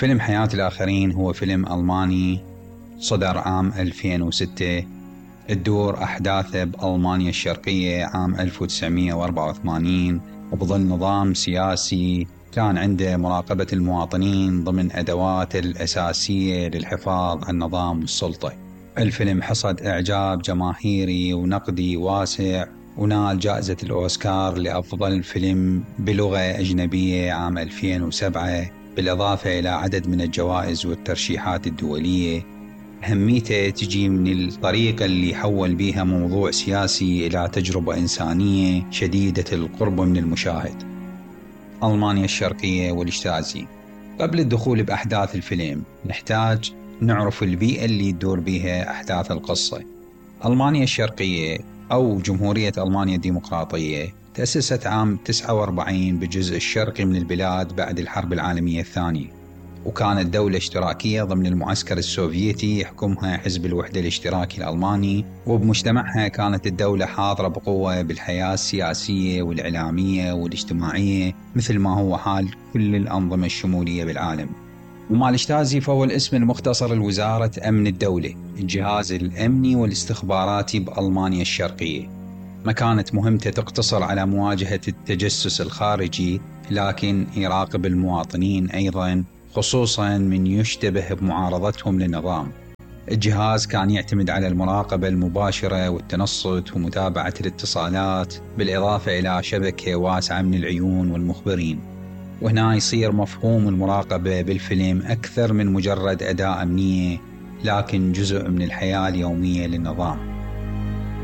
فيلم حياة الآخرين هو فيلم ألماني صدر عام 2006. تدور أحداثه بألمانيا الشرقية عام 1984، وبظل نظام سياسي كان عنده مراقبة المواطنين ضمن أدواته الأساسية للحفاظ على النظام والسلطة. الفيلم حصد إعجاب جماهيري ونقدي واسع، ونال جائزة الأوسكار لأفضل فيلم بلغة أجنبية عام 2007، بالإضافة إلى عدد من الجوائز والترشيحات الدولية. أهميته تجي من الطريقة اللي حول بيها موضوع سياسي إلى تجربة إنسانية شديدة القرب من المشاهد. ألمانيا الشرقية والاجتازي. قبل الدخول بأحداث الفيلم نحتاج نعرف البيئة اللي تدور بيها أحداث القصة. ألمانيا الشرقية أو جمهورية ألمانيا الديمقراطية تأسست عام 49 بالجزء الشرقي من البلاد بعد الحرب العالمية الثانية، وكانت دولة اشتراكية ضمن المعسكر السوفيتي يحكمها حزب الوحدة الاشتراكي الألماني. وبمجتمعها كانت الدولة حاضرة بقوة بالحياة السياسية والإعلامية والاجتماعية، مثل ما هو حال كل الأنظمة الشمولية بالعالم. ومع الاجتازي فهو الاسم المختصر لوزارة أمن الدولة، الجهاز الأمني والاستخباراتي بألمانيا الشرقية. ما كانت مهمته تقتصر على مواجهة التجسس الخارجي، لكن يراقب المواطنين أيضاً، خصوصاً من يشتبه بمعارضتهم للنظام. الجهاز كان يعتمد على المراقبة المباشرة والتنصت ومتابعة الاتصالات، بالإضافة إلى شبكة واسعة من العيون والمخبرين. وهنا يصير مفهوم المراقبة بالفيلم أكثر من مجرد أداة أمنية، لكن جزء من الحياة اليومية للنظام.